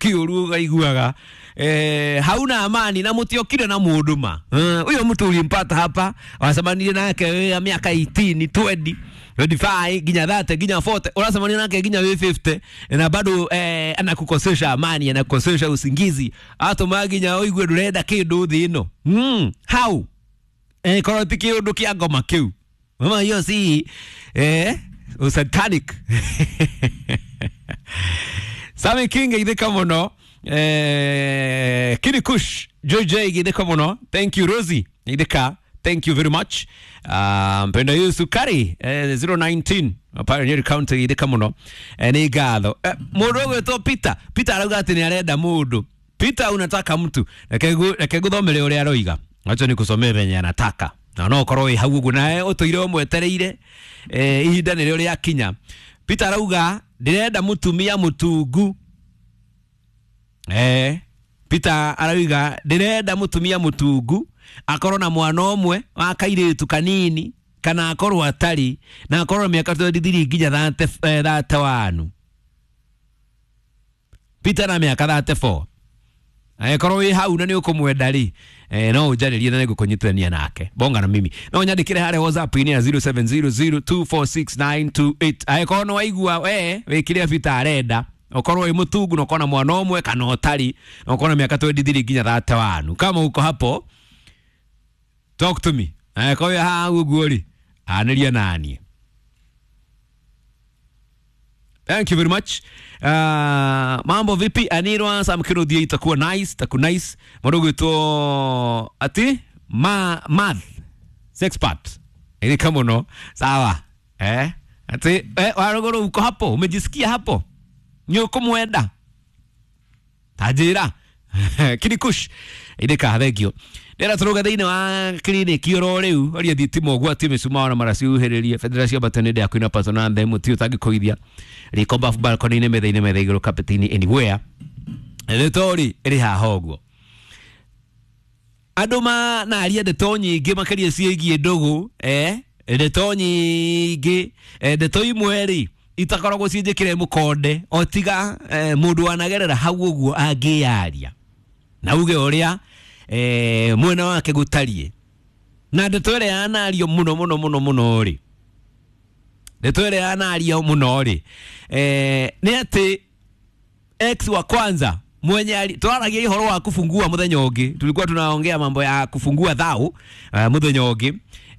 kiuru ukaiguaga hauna amani na mutiokire na mundu ma uyo mtu ulimpata hapa wacemanirie nake ya miaka 18 20 25 nginya 30 nginya 40 uracemania nake nginya wi 50 na bado anakukosesha amani, anakukosesha usingizi, atuma nginya uigue ndurenda kindu thi ino. How korwo ti kiundu kia ngoma kiu mama hiyo si satanic. Sami King ithika muno, Kini Kush JJ ithika muno, thank you Rosie ithika, thank you very much. Mpenda Yesu Kari 019 Pioneer County ithika muno, ni ngatho. Mundu ugwitwo Peter, Peter arauga ati ni arenda mundu. Peter unataka mtu, reke nguthomere uria aroiga, acha nikusomee venye anataka na no ukorwo wi hau uguo nawe utuire umwetereire ihinda nĩrĩo rĩakinya. Peter arauga ndirenda mutumia mutungu. Peter arauga ndirenda mutumia mutungu akorwo na mwana ũmwe wa kairĩtu kanini kana akorwo atari na akorwo na mĩaka 23 nginya 31. Peter na mĩaka 34. Angĩkorwo wĩ hau na nĩ ũkũmwenda rĩ, no ũnjarĩrie na nĩngũkũnyitithania nake. Bonga na mimi. No ũnyandĩkĩre harĩa WhatsApp-inĩ ya 0700246928. Angĩkorwo nĩ waigua we wĩ kĩrĩa Peter arenda, ũkorwo wĩ mũtungu na ũkorwo na mwana ũmwe kana ũtarĩ na ũkorwo na mĩaka 23 nginya 31. Kama uko hapo, talk to me. Angĩkorwo wĩ hau ũguo rĩ, anĩria naniĩ. Thank you very much. Mambo vipi Anirwa Samkirudia, itakuwa nice, itakuwa nice. Mdogo to ati ma math sex part. Ili kama no sawa. Ati warogoro uko hapo, umejisikia hapo? Ni uko mwenda. Tajira. Kinikush. Ile ka thank you. Ndĩra tũrũga thĩinĩ wa kiriniki oro rĩu ũria thitima ũgwati mĩcumaa na maraciuhĩrĩrie bendera cia mbatani ndĩa kwĩna patona themu ti ũtangĩkũithia riko bafu balcony-inĩ metha-inĩ metha igũrũ carpet-inĩ anywhere ndeto-rĩ ĩrĩ haha ũguo. Andũ manaria ndeto nyingĩ makĩria ciĩgiĩ ndũgũ, ndeto nyingĩ, ndeto imwe rĩ itakoragwo ciĩ njĩkĩre mũkonde o tiga mũndũ wanagerera hau ũguo angĩyaria na uge ũrĩa mwena wake gũtariĩ. Na ndeto ĩrĩa yanario mũno mũno mũno mũno rĩ, ndeto ĩrĩa yanario mũno rĩ, nĩ atĩ ex wa kwanza mwenye twaragia ũhoro wa kufungua mũthenya ũngĩ, tulikuwa tunaongea mambo ya kufungua thau mũthenya ũngĩ,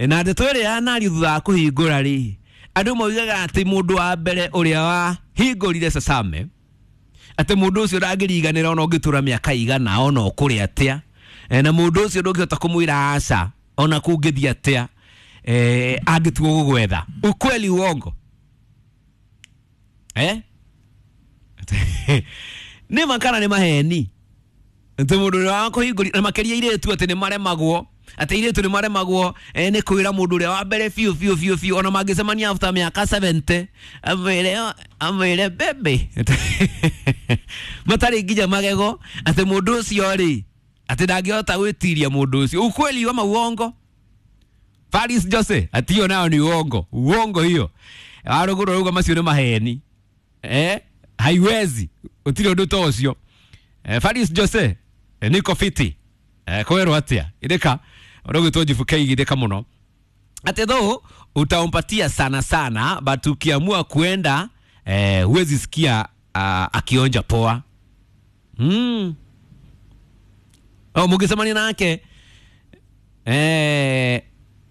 na ndeto ĩrĩa yanario thutha wa kũhingũra rĩ, andũ moigaga atĩ mũndũ wa mbere ũrĩa wahingũrire Sasame, atĩ mũndũ ũcio ndangĩriganĩra ona ũngĩtũra mĩaka igana ona ũkũrĩ atĩa, na mũndũ ũcio ndũngĩhota kũmwĩra aca ona kũngĩthiĩ atĩa, angĩtua gũgwetha. Ukweli uongo? Nĩ ma kana nĩ maheni? Atĩ mũndũ ũrĩa wakũhingũria, na makĩria airĩtu atĩ nĩ maremagwo, atĩ airĩtu nĩ maremagwo nĩ kwĩra mũndũ ũrĩa wa mbere biũ biũ biũ biũ, ona mangĩcemania after mĩaka 70 amwĩre bebe matarĩ nginya magego, atĩ mũndũ ũcio rĩ atĩ ndangĩhota gwĩtiria mũndũ ũcio. Ukweli ama uongo? Paris Jose ati hiyo nayo ni uongo. Uongo hiyo. Waruguru rauga macio nĩ maheni. Haiwezi. Utire ũndũ ta ũcio. Faris Jose niko fiti. Kwĩrwo atĩa? Ithika ũrũgĩtwo njibuke igithika mũno. Ati though utampatia sana sana, but ukiamua kuenda huwezi sikia akionja poa. Oh, mũngĩcemania nake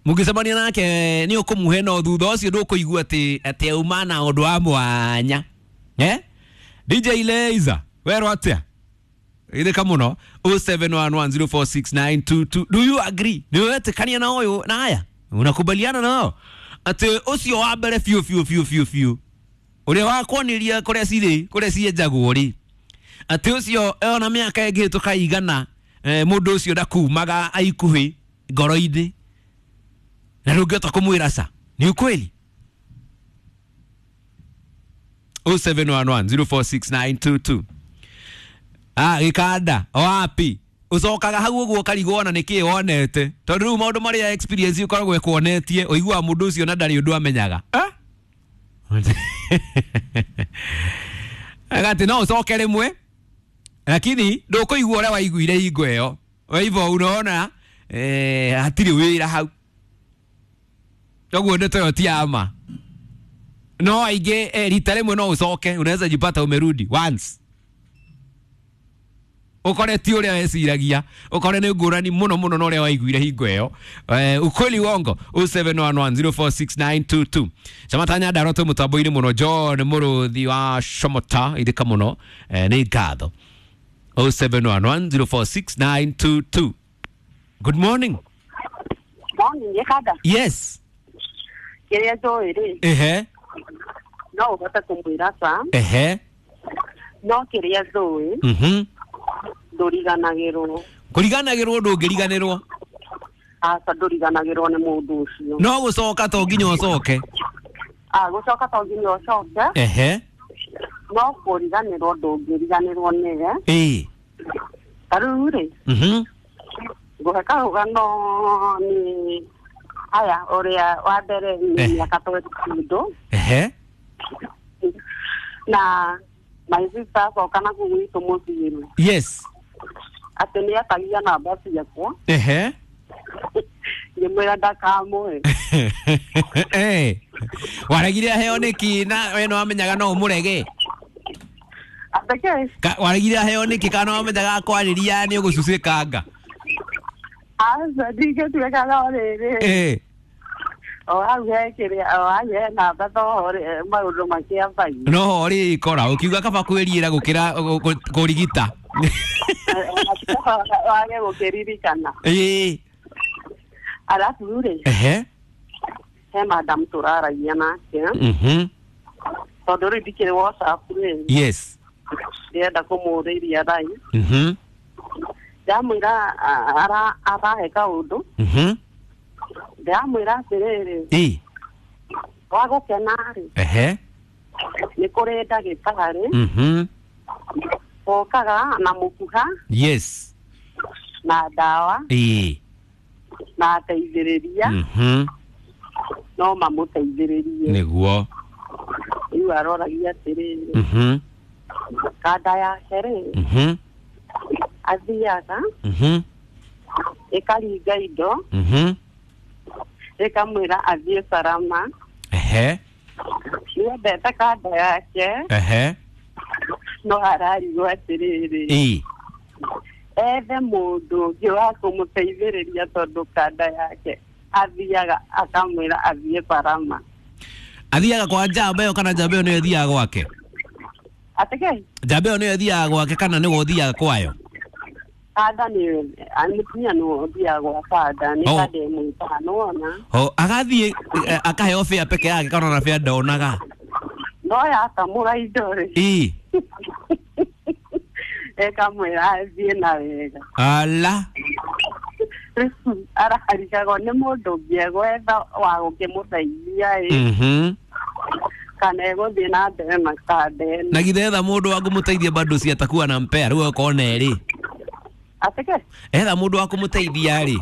mũngĩcemania nake nĩ ũkũmũhe no thutha ũcio ndũkũigua atĩ auma na ũndũ wa mwanya. DJ Leiza werwo atĩa? Ithika mũno 0711046922. Do you agree? Nĩ wetĩkania na ũyũ na aya? Unakubaliana nao atĩ ũcio wa mbere biũ biũ biũ biũ biũ ũrĩa wakwonirie kũrĩa cirĩ kũrĩa cienjagwo rĩ, atĩ ũcio ona mĩaka ĩngĩhĩtũka igana, mũndũ ũcio ndakumaga aikuhĩ ngoro-inĩ na ndũngĩhota kũmwĩra ca. Ni ukweli? 0711046922. Gĩkanda wapi ucokaga hau ũguo ũkarigwo ona nĩkĩĩ wonete, tondũ rĩu maũndũ marĩa experience ũkoragwo ĩkuonetie ũiguaga mũndũ ũcio na ndarĩ ũndũ amenyaga. Agati no ũcoke rĩmwe Lakini ndũkũigua ũrĩa waiguire hingo ĩyo. Kwa hivyo unaona hatirĩ wĩra hau. Koguo ndeto ĩyo ti ya ma. No aingĩ rita rĩmwe no ũcoke, unaweza jipata umerudi once. Ukore ti ũrĩa weciragia, ukore nĩ ngũrani mũno mũno na ũrĩa waiguire hingo ĩyo. Ukweli wongo 0711046922. Camata Nyandarua twĩ mũtambo-inĩ mũno. John Mũrũthi wa Shomota ithika mũno, nĩ ngatho. 0711046922. Good morning. Morning, Gĩkanda. Yes. Kĩrĩa njũĩ rĩ, Ehe. no ũhote kũmwĩra ca, Ehe. no kĩrĩa njũĩ ndũriganagĩrwo. Kũriganagĩrwo ndũngĩriganĩrwo. Aca, ndũriganagĩrwo nĩ mũndũ ũcio. No gũcoka to nginya ũcoke. Ah, gũcoka to nginya ũcoke. Ehe. No kũriganĩrwo ndũngĩriganĩrwo nĩwe. Ĩĩ. Ta rĩu rĩ, ngũhe karũgano nĩ aya ũrĩa wa mbere nĩ mĩaka 22. Ehe. Na my sister acoka na kũu gwitũ mũciĩ. Yes. Atĩ nĩ etagia namba ciakwa. Ehe. Ngĩmwĩra ndakamũhe. Waregire aheo nĩkĩ na we nĩwamenyaga no ũmũrege? Atĩ kĩ? Waregire aheo nĩkĩ kana nĩwamenyaga akwarĩria nĩ ũgũcucĩkanga? Aca, ndingĩtuĩka no rĩrĩ. O hau he kĩrĩa, o hau he namba toho maũndũ makĩambagia. No ho rĩkora ũkiuga kaba kwĩriĩra gũkĩra kũrigita. Wage gũkĩririkana. Ĩĩ. Arabu rĩ, Ehe. he madam tũraragia nake. Tondũ rĩu ndikĩrĩ WhatsApp rĩ. Yes. Ndĩrenda kũmũrĩria thaa. Ndamwĩra arahe kaũndũ. Ndĩramwĩra atĩrĩrĩ. Ĩĩ. Wa gũkena rĩ. Ehe. Nĩ kũrĩ ndagĩtarĩ. Okaga na mũkuha. Yes. Na ndawa. Ĩĩ. Na ateithĩrĩria. No mamũteithĩrĩrie. Nĩguo. Rĩu aroragia atĩrĩrĩ. Kanda yake rĩ. Athiaga. Ĩkaringa indo. Ĩkamwĩra athiĩ Salama. Ehe. Nĩendete kanda yake. Ehe. No ararigwo atĩrĩrĩ. Ĩĩ. Ethe mũndũ ũngĩ wa kũmũteithĩrĩria tondũ kanda yake athiaga akamwĩra athiĩ Salama. Athiaga kwa njamba ĩyo kana njamba ĩyo nĩyo ĩthiaga gwake? Atĩ kĩ? Njamba ĩyo nĩyo ĩthiaga gwake kana nĩwe ũthiaga kwayo? Kanda nĩ mũtumia nĩwe ũthiaga gwa kanda, nĩ kanda ĩmwĩtaga nĩwona. Agathiĩ akaheo bĩa peke yake kana ona bĩa ndonaga? No yakamũra indo rĩ. Ĩĩ. Ĩkamwĩra athiĩ na wega. Ala. Ararigagwo nĩ mũndũ ũngĩ egwetha wa gũkĩmũteithia ĩ. Kana egũthiĩ na mbere na kanda ĩno. Na githĩ etha mũndũ wa kũmũteithia bado si atakuwa na mpea rĩu okorwo na erĩ. Atĩ kĩ? Etha mũndũ wa kũmũteithia rĩ.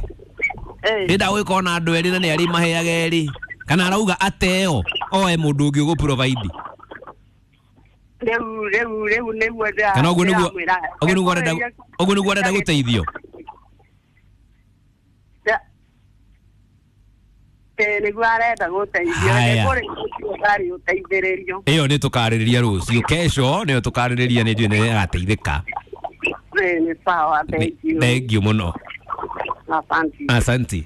Ĩnda gũgĩkorwo na andũ erĩ na nĩ arĩ maheaga erĩ. Kana arauga ateo oe mũndũ ũngĩ ũgũ provide. Rĩu nĩguo ndĩra. Kana ũguo nĩguo ũguo nĩguo arenda ũguo nĩguo arenda gũteithio. Nĩguo arenda gũteithio. Nĩ kũrĩ ũtarĩ ũteithĩrĩrio. Ĩyo nĩ tũkarĩrĩria rũciũ. Kesho nĩyo tũkarĩrĩria nĩ njũĩ nĩ arateithĩka. Nĩ sawa, thank you. Thank you mũno. Asante. Asante.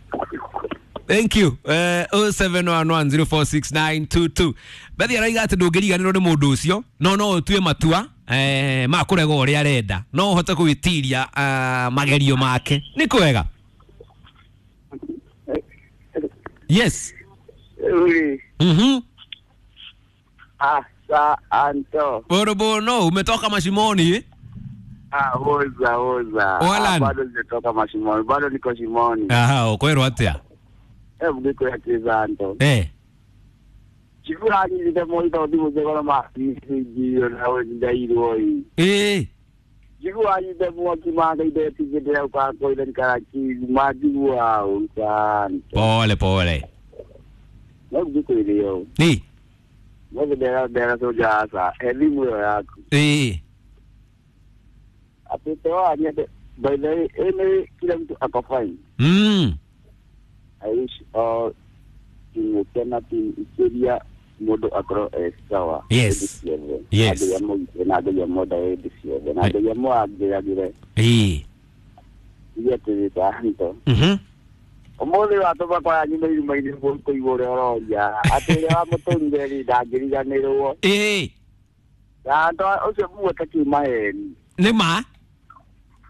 Thank you. 0711046922. Bethi araiga atĩ ndũngĩriganĩrwo nĩ mũndũ ũcio, no no ũtue matua ma kũrega ũrĩa arenda. No ũhote gwĩtiria magerio make. Nĩ kwega. Yes. Asa Anto. Borobono, umetoka mashimoni? Ah, oza oza. Bado sijatoka mashimoni, bado niko shimoni. Aha, ukwero atia. Mgiko ya kizanto. Chikura ni moita odimu zegona ma jio na we ndairwo i. Chikura ni mo kimanga ide tigedea kwa ko ile nkaraki majiwa unsanto. Pole pole. Mgiko ile yo. Ni. Mwe dera dera soja asa elimu yako. Tete nyende by the way ene kila mtu ako fine. I wish all timu team ikiria mundu akorwo e sawa. Yes. Yes. Ngai amũgitĩre na Ngai amwenda hĩndĩ ciothe na Ngai amwangĩragĩre. Iria tũgĩtanto. Ũmũthĩ watũma kwa nyuma iruma-inĩ kũigua ũrĩa ũroria atĩ ũrĩa wamũtũrire rĩ ndangĩriganĩrwo. Tanto ũcio muote kiuma heni. Nĩ ma?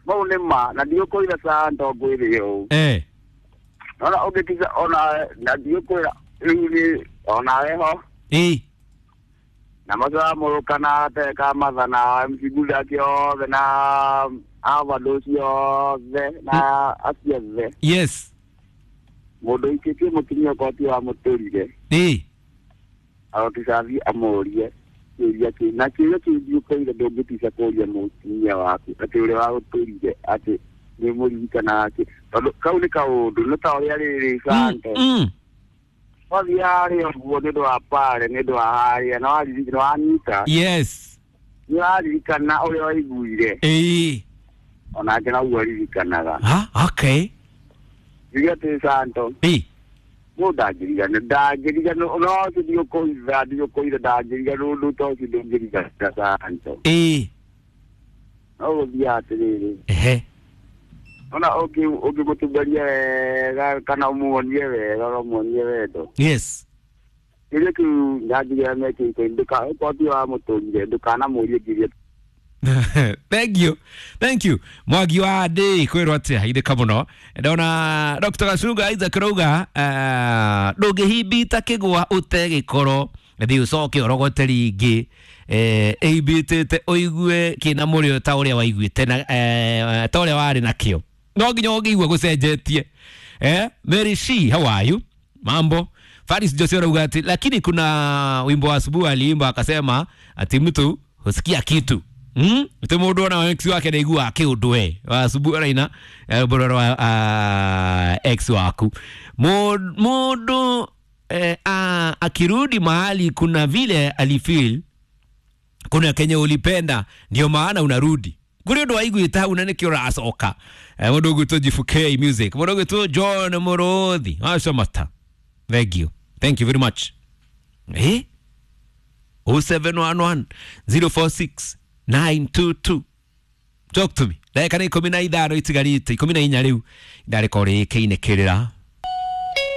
Mau nĩ ma na ndiũkũira santo ngwĩre ũũ. Ona ũngĩtiga ona na ndiũkwĩra rĩu nĩ onawe ho. Na macoa na teka matha na MC Gulak yothe na avado ciothe na aciothe. Yes. Mũndũ ũikĩtie mũtumia okorwo ti wamũtũrire. Aroticathi amũrie kĩũria kĩu na kĩũria kĩu ndiũkũire ndũngĩtica kũria mũtumia waku atĩ ũrĩa wagũtũrire atĩ nĩ mũririkanaga kĩ tondũ kau nĩ kaũndũ nĩ ta ũrĩa rĩrĩ sante. Wathiĩ harĩa ũguo nĩ ũndũ wa pare nĩ ũndũ wa harĩa na wanyita. Yes. Nĩ waririkana ũrĩa waiguire. Onake noguo aririkanaga. Okay. Njuge atĩ santo. Mũndũ ndangĩriganĩrwo ndangĩriganĩrwo no ũcio ndiũkũitha ndiũkũitha ndangĩriganĩrwo ũndũ ta ũcio ndũngĩriganĩra santo. No gũthiaga atĩrĩrĩ. Ona ũngĩmũtumberia wega kana ũmuonie wega ũmuonie wendo. Yes. Kĩrĩa kĩu ndanjigĩra mekĩte okorwo ti wamũtũrire ndũkanamũrie ngiria. Thank you. Thank you. Mwagi wa ndĩ kwĩrwo atĩa ithĩka mũno ndona Dr. Gacunga Isaac rauga ndũngĩhimbita kĩgwa ũte gĩkoro thiĩ ũcoke ũrogote rĩngĩ ĩimbĩtĩte ũigue kĩna mũrĩo ta ũrĩa waiguĩte na ta ũrĩa warĩ nakĩo no nginya ũngĩigua gũcenjetie. Mary C, how are you? Mambo. Faris Jose rauga ati lakini kuna wimbo wa asubuhi aliimba akasema ati mtu husikia kitu. Mtu mundu ona ex wake ndaigua kiundu we asubuhi araina bororo wa ex waku mundu akirudi mahali kuna vile alifeel kuna Kenya ulipenda ndio maana unarudi kuri undu waiguite hau na nikio uracoka. Mundu ugwitwo Jifuke Music, mundu ugwitwo John Muruthi wacamata. Thank you. Thank you very much. 0711 046 922. Talk to me. Ndagĩka nĩ 15 itigarĩte 14 rĩu ndarĩkorwo rĩkĩinĩkĩrĩra.